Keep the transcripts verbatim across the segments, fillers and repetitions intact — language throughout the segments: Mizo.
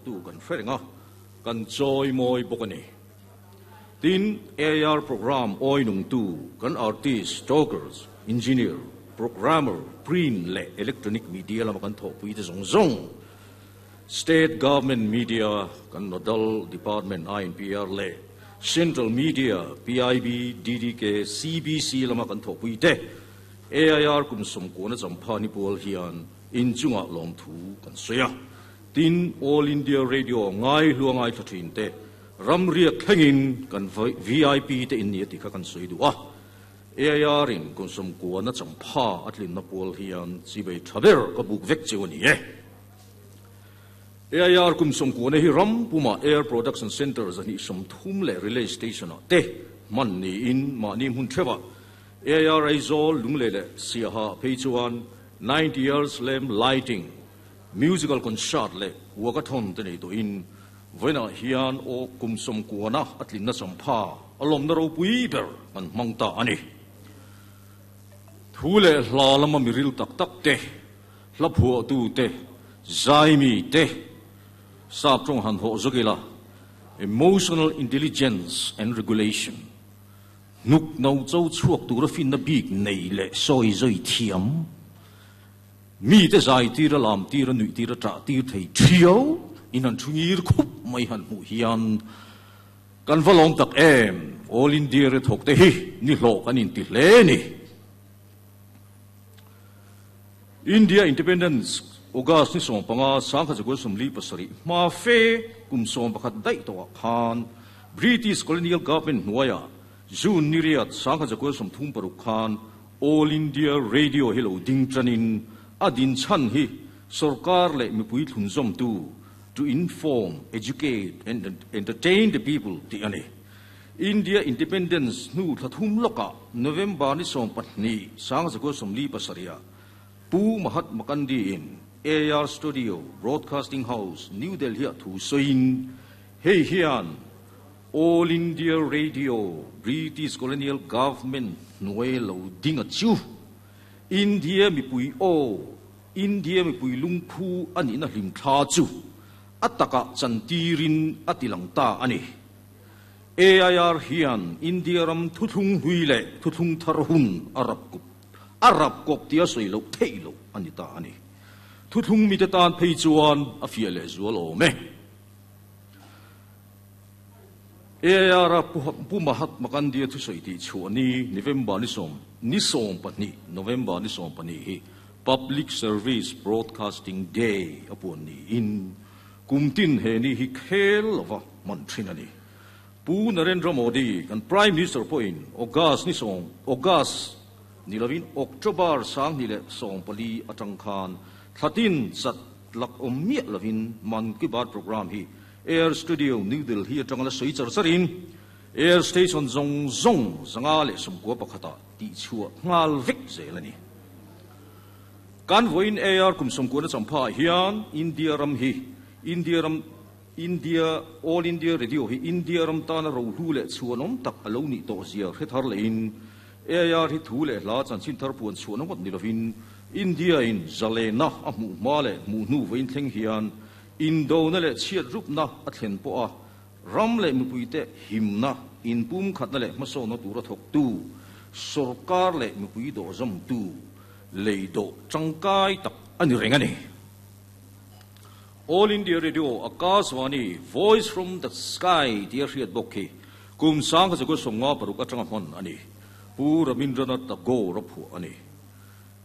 tu kan hre renga kan chawi mawi bawk a ni. Tin, A I R program awi nung tu kan artist, talkers, engineer, programmer, print leh electronic media lama kan thawhpui te zawng zawng, state government media kan nodal department I N P R leh central media P I B, D D K, C B C lama kan thawhpui te, A I R kum sawmkuana champha ni pual hian inchunga lawm thu kan sawi a. Tin, All India Radio ngai hluangai thla thin te, ram riak thlengin kan V I P te in ni ti kha kan sawi du a. A I R in kum sawmkuana champha atlin na pual hian chibai thaber ka buk vek chu ani e. A I R kum sawmkuana hi ram puma Air Production Center zani sawmthum leh relay station a te man ni in mahni hmun thewa A I R Aizawl, Lunglei leh Siaha phei chuan ninety years lamp lighting, musical concert leh walkathon te nei to in voina hian o kum sawmkuana atlin na champha alom na ropui ber kan hmang ta ani. Thu leh hla lama miril tak tak te, hla phuah tu te, zaimi te, sap tawng han ho zokila emotional intelligence and regulation nuk no cho chuak tura fin na bik nei le soi zoi thiam mi te zai tira lam tira nui tira tra tir thei thiau in han thungir khup mai han mu hian kan valong tak em. All India re thok te hi ni hlo kan in ti hle ni. India Independence August ni som panga sangkha zakua sawmli pasarih ma fe kum som pakhat dai to khan British colonial government hnuaia June ni riat sangkhat zakua sawmthum paruk khan All India Radio hi lo ding chanin adin chan hi sarkar leh mipui thlun zawm tu, to inform, educate and entertain the people ti ani. India Independence nu thathum loka November ni som pahnih sang zakua sawmli pasarih Pu Mahatma Gandhi in A I R Studio, Broadcasting House, New Delhi thu soin hei hian All India Radio British colonial government hnuai lo dinga chu India mipui o India mipui lungphu ani na hlim thla chu ataka chantirin atilang ta ani. A I R hian India ram thuthlung hui le thuthlung thar hun arab kup arab kop tia soi lo thei lo ani ta ani. Thuthlung mi te tan phei chuan a fia le zual o me. A I R pu Mahatma Gandhi thu soi ti chu ani November ni som ni som pahnih November ni som pahnih hi Public Service Broadcasting Day apun ni in kumtin he ni hi khel lova man thin ani. Pu Narendra Modi kan Prime Minister po in August ni som August ni lovin October sang ni le som pali atang khan thlatin chat lak om mi lovin Man Ki Baat program hi Air Studio, New Delhi atang la soi char charin Air Station zong zong zanga le som ko pakhata ti chua ngal vek zelani. Kan voin A I R kum som ko na champha hian India ram hi India ram India All India Radio hi India ram ta na ro hu le chuanom tak alo ni to zia hre thar le in A I R hi thu le hla chan chin thar puan chuanom wat ni lovin India in zale na a mu ma le mu nu vein thleng hian Indo na le chiat rup na a thlen po a ram le mupui te him na in pum khat na le maso na tura thok tu sarkar le mupui do zam tu leido tangkai tak ani reng ani. All India Radio, Akashvani, Voice from the Sky tia hriat bawk hi kum sang kha chu somnga paruk atanga hman ani. Pu Rabindranath Tagore a phuah ani.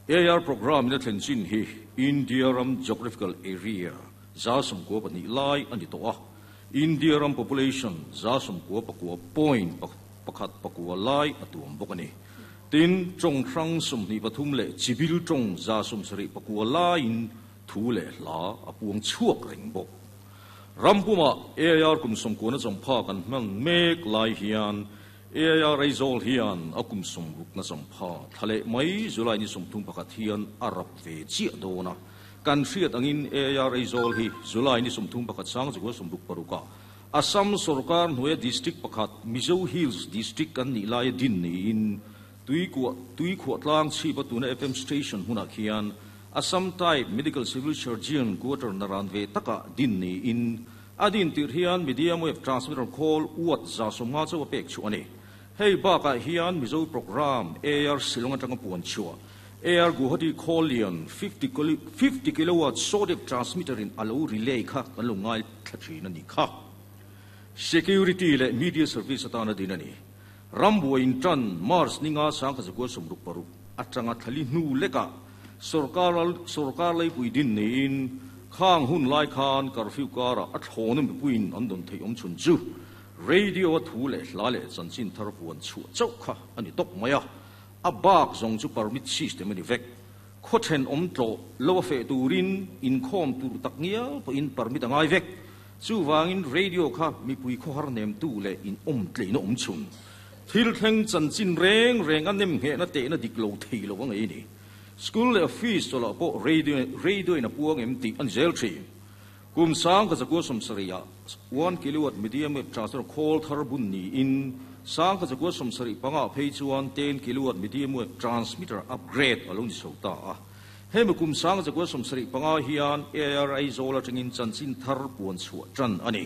A I R program na thlen chin hi India ram geographical area za sawmkua pahnih lai ani to a. India ram population za sawmkua pakua point pakhat pakua lai a tuam bawk ani. Tin, tawng hrang sawmhnih pathum leh chibil tawng za sawmsarih pakua laiin thu leh hla a puang chhuak reng bawk. Rampuma A I R kum sawmkuana champha kan hmang mek lai hian A I R Aizawl hian a kum sawmruk na champha thlale mai July ni sawmthum pakhat hian a rap ve chiah dawna. Kan hriat angin A I R Aizawl hi July ni sawmthum pakhat sang zakua sawmruk paruka Assam sarkar hnuaia district pakhat Mizo Hills District kan nih laia din niin tui khuah tui khuah tlang chhipa tuna F M station hmunah khian Assam type medical civil surgeon quarter naran ve taka din ni in adin tir hian medium wave transmitter call uat za somnga chaw pek chu ani hei ba ka hian Mizo program A R Shillong atanga puan chua A R Guwahati Kholian fifty kilowatt sodium transmitter in alo relay kha kan lo ngai thlathin ani kha security le media service atana din ani Rambo in tan Mars ninga sangkha zakwa somruk paruk atanga thali hnu leka sarkar sarkar lei pui din ni in khang hun lai khan curfew kara a thonum puin an don thei om chun chu radio thu le hla le chanchin thar puan chu chau kha ani tok maya a bak zong chu permit system ani vek khothen om tlo lo fe turin in khom tur tak ngia po in permit angai vek chu wangin radio kha mi pui kho har nem tu le in om tle no om chun thil thleng chanchin reng reng an nem nge na te na dik lo thei lo ngai ni school le office to la po radio radio in a puang em ti an zel thi kum sang ka zakwa som saria one kilowatt medium wave transmitter call thar bun ni in sang ka zakwa som sari panga phei chuan ten kilowatt medium wave transmitter upgrade along so ta a hem kum sang zakwa som sari panga hian A R I zola tangin chanchin thar puan chu tran ani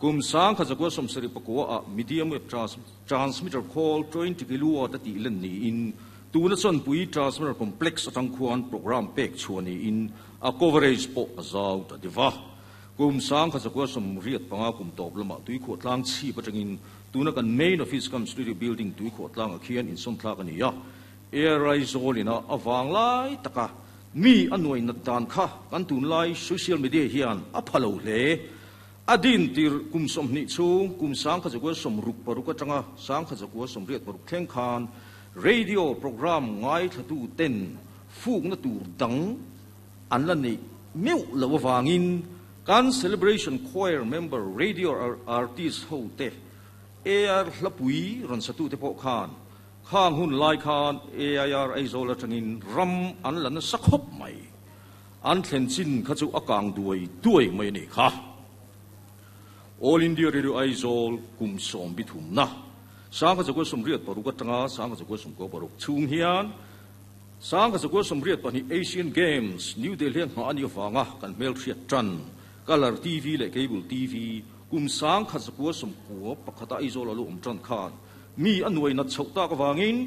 kum sang kha zakwa som sari pakwa a medium wave transmitter call twenty kilowatt ati len ni in tuna chon pui transmitter complex atang khuan program pek chuani in a coverage po azau ta diwa kum sang kha zakwa som riat panga kum top lama tui kho tlang chi patangin tuna kan main office kam studio building tui kho tlang a khian in som thlak ani ya air zolina awang lai taka mi anuai na dan kha kan tun lai social media hian a phalo hle adin tir kum som ni chu kum sang kha zakwa som ruk paruk atanga sang kha zakwa som riat paruk thleng khan radio program ngai thatu ten fuk na tur dang an la nei meu lo wangin kan celebration choir member radio artist ho te A R hlapui ron satu te po khan khang hun lai khan A I R Aizawl atangin ram an lan sakhop mai an thlen chin kha chu akang duai duai mai ni kha All India Radio Aizawl kum som bithum na sang kha zakwa som riat paruk atanga sang kha zakwa som ko paruk chung hian sang kha zakwa som riat pahnih Asian Games New Delhi nga ani wanga kan mel thiat tran color T V le cable T V kum sang kha zakwa som ko pakhata Aizawl alu om tran khan mi anuai na chhokta ka wangin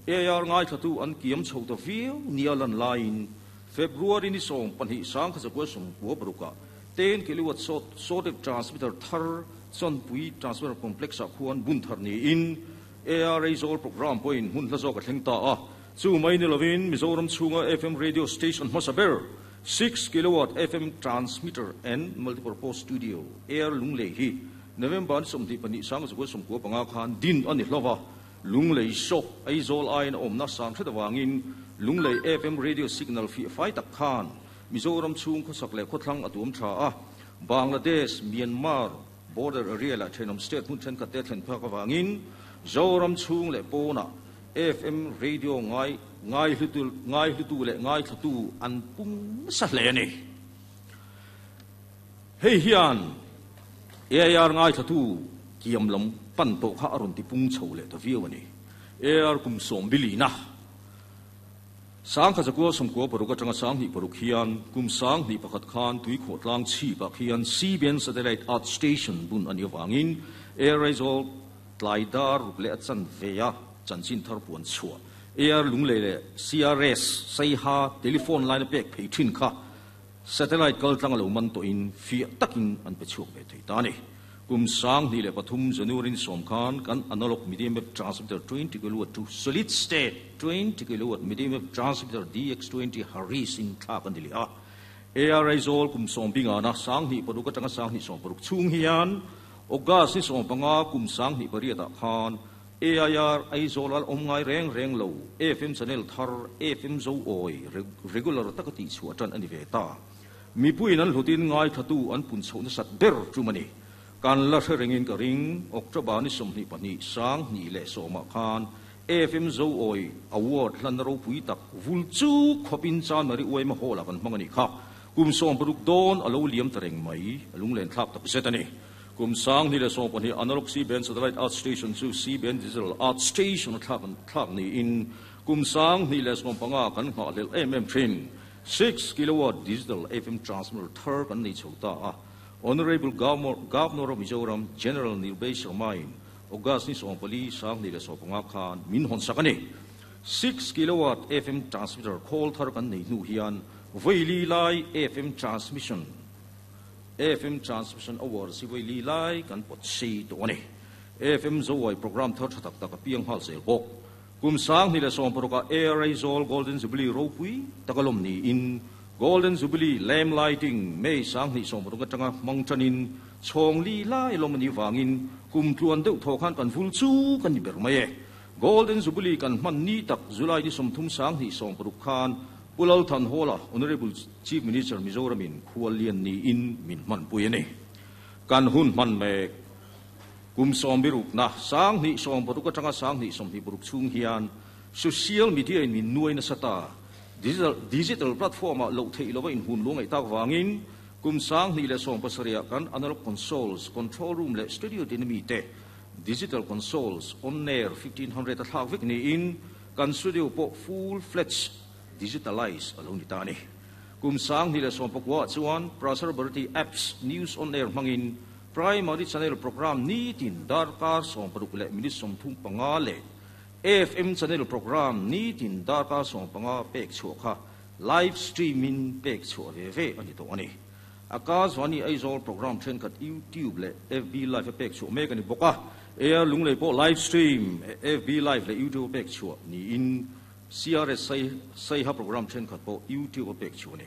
A R ngai thatu an kiam chhokta viu nialan line February ni som pahnih sang kha zakwa som ko paruka ten kilowatt sort sort of transmitter thar chon pui transmitter complex a khuan bun thar ni in A R Aizawl program point hun hla zawk a thleng ta a chu mai ni lovin Mizoram chhunga F M radio station hmasaber six kilowatt F M transmitter and multipurpose studio A R Lunglei hi November ni sawmhnih pahnih sang zakua sawmkua panga khan din ani hlova Lunglei shop Aizawl ain awm na sang hret awangin Lunglei F M radio signal fi fai tak khan Mizoram chhung khawsak leh khawthlang a tuam tha a Bangladesh Myanmar border area la thenawm state hmun thenkhat te thlen phak awangin Zoram chhung leh pawna F M radio ngai ngai hlutu ngai hlutu leh ngai thlatu an pung sa hle ani hei hian A I R ngai thlatu kiam lam pan to kha aron ti pung chho leh ta viau ani A R kum som bili na sang kha zakua somkua paruk atanga sang hnih paruk hian kum sang hnih pakhat khan tui kho tlang chi pak hian C B N satellite art station bun ani awangin A R Aizawl tlaidar ruk leh a chan veia chanchin thar puan chhuah A R Lunglei le C R S Saiha telephone line pek phei thin kha satellite kal tlang lo man to in fiah takin an pe chhuak ve thei ta ani kum sang hnih leh pathum January som khan kan analog medium wave transmitter twenty kilowatt to solid state twenty kilowatt medium wave transmitter D X twenty Harris in thlak an dili a A R Aizawl kum som binga na sang hnih paruk atanga sang hnih som paruk chung hian August ni som panga kum sang hnih pariat ah khan A I R Aizawl al om ngai reng reng lo F M channel thar F M zo oi regular takati chu atan ani ve ta mi puin an hlutin ngai thatu an pun chho na sat ber chumani kan la hrengin ka ring October ni somhnih pahnih sang hnih leh sawma khan F M zo oi award hlan ro pui tak vul chu khopin chan mari oi ma hola kan hmangani kha kum som paruk don alo liam tareng mai alung len thlak tak zet ani kum sang ni le som pahnih analog C band satellite art station chu C band digital art station thlak thlak ni in kum sang ni le som panga kan ngha lel em em thin six kilowatt digital F M transmitter thar kan nei chhota a. Honorable Governor, Governor of Mizoram General Nirbhay Sharma in August ni sawm pali sang ni le sawm panga khan min hon sak ani. six kilowatt F M transmitter khawl thar kan nei hnu hian veili lai F M transmission F M transmission hour si veili lai kan pot sei to ani. F M Zowai program thar thatak tak piang hal zel bok. Kum sang ni le sawm paruka A I R Aizawl Golden Jubilee ropui takalom ni in Golden Jubilee lamp lighting May sang ni sawm paruka tanga mangchanin chhong li lai lom ni wangin kum tluan deuh tho khan kan vul chu kan ni ber mai e. Golden Jubilee kan man ni tak July ni sawmthum sang ni sawm paruk khan Pulal Than Hola Honorable Chief Minister Mizoramin khualian ni in min man pui ani. Kan hun man me kum sawm biruk na sang ni sawm paruk atanga sang ni sawm hi paruk chung hian social media in min nuai na sata digital digital platform a lo thei lova in hun lungai tak wangin kum sang ni le sawm pasaria kan analog consoles, control room le studio tin mi te digital consoles on air fifteen hundred a thlak vek ni in kan studio po full fledged digitalize alo ni ta ni. Kum sang ni le sawm pakwa chuan Prasar Bharati apps News on Air mangin primary channel program ni tin darkar sawm paruk le minute sawm thum panga le F M channel program ni tin darkar sawm panga pek chu kha live streaming pek chu ve ve ani to ani. Akashvani Aizawl program then khat YouTube le F B live pek chu mek ani boka. A I R Lunglei po live stream F B live le YouTube pek chu ni in C R S sai sai ha program then khat po YouTube pek chu ni.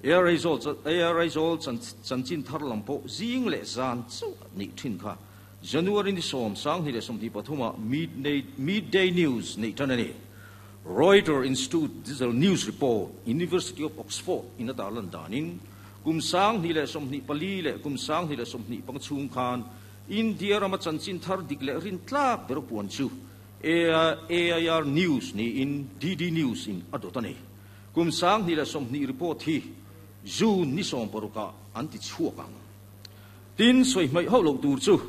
A I R Aizawl A I R Aizawl chan chanchin thar lam po zing le zan chu ni thin kha January ni som sang ni le som ti pathuma midday midday news ni tan ani. Reuters Institute Digital News Report, University of Oxford in dalan danin kum sang ni le som ni pali le kum sang ni le som ni pang chung khan India rama chanchin thar dik le rin tlak ber puan chu A I R News ni in D D News in adotani. Kum sang ni le som ni report hi June ni som paruka anti chuakang. Tin soi mai ho lo tur chu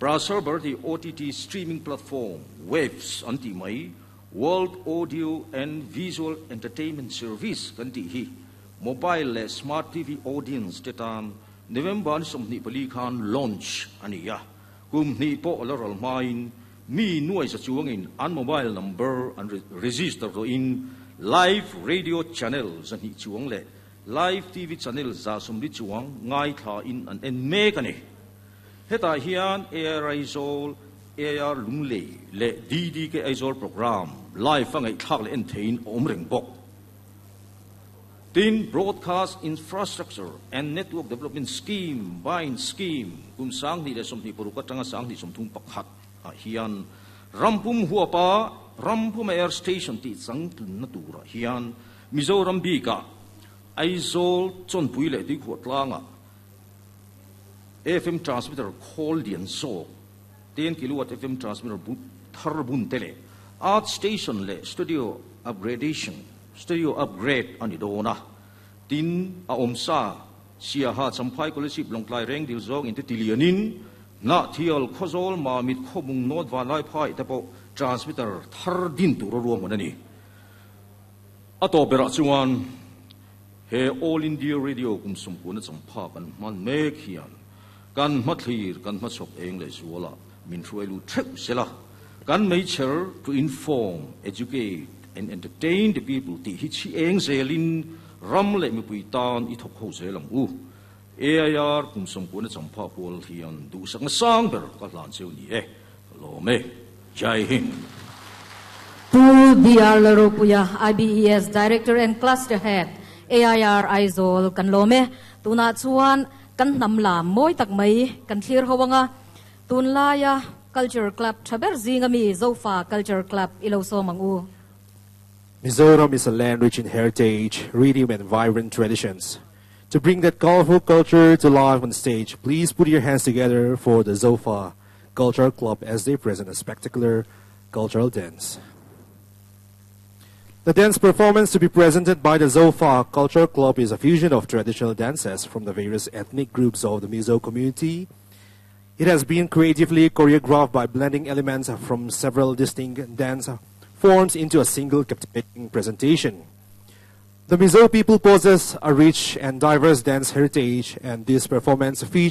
Prasar Bharati O T T streaming platform Waves anti mai World Audio and Visual Entertainment Service kan ti hi mobile le smart T V audience te tan November ni som ni pali khan launch ani ya. Kum ni po la ral main mi nuai sa chuangin an mobile number an register to in live radio channel zan hi chuang le live T V channel za sum li chuang ngai tha in an en me ka ni. Heta hian A I R Aizawl, A I R Lunglei le D D K Aizawl program live angai thak le en thein om reng bok. Tin Broadcast Infrastructure and Network Development Scheme, BIND Scheme kum sang ni le som ni poruka tanga sang ni som thum pakhat a hian rampum huapa rampum air station ti chang tun na tura hian Mizoram bi ka Aizawl chonpui le ti khuat langa F M transmitter khol lian so ten kilowatt F M transmitter bu thar bun tele art station le studio upgradation, studio upgrade ani dona. Tin a omsa sia ha Champhai, Kolasib, Lawngtlai, Rengdil zong in te tilianin na thial Khawzawl, Mamit, Khawbung, North Vanlaiphai te po transmitter thar din tur ruam ani. Ato bera chuan he All India Radio kum sum ku na champha kan man mek hian kan mathlir kan ma chok eng le zuala min hruailu theu sela. Kan mei cher to inform, educate and entertain the people ti hi chi eng zelin ram le mi pui tan i thok ho zelam u. A I R kum som ku na champha pol hian du sang sang ber ka hlan cheu ni e lo me. Jai Hind. Pu B R Laropuya, I B E S Director and Cluster Head, A I R Aizawl kan lome. Tuna chuan kan nam lam moi tak mai kan thlir howanga tun laya Culture Club thaber zinga mi Zofa Culture Club ilo so mangu. Mizoram is a land rich in heritage, rhythm, and vibrant traditions. To bring that colorful culture to life on stage, please put your hands together for the Zofa Cultural Club as they present a spectacular cultural dance. The dance performance to be presented by the Zofa Cultural Club is a fusion of traditional dances from the various ethnic groups of the Mizo community. It has been creatively choreographed by blending elements from several distinct dance forms into a single captivating presentation. The Mizo people possess a rich and diverse dance heritage, and this performance features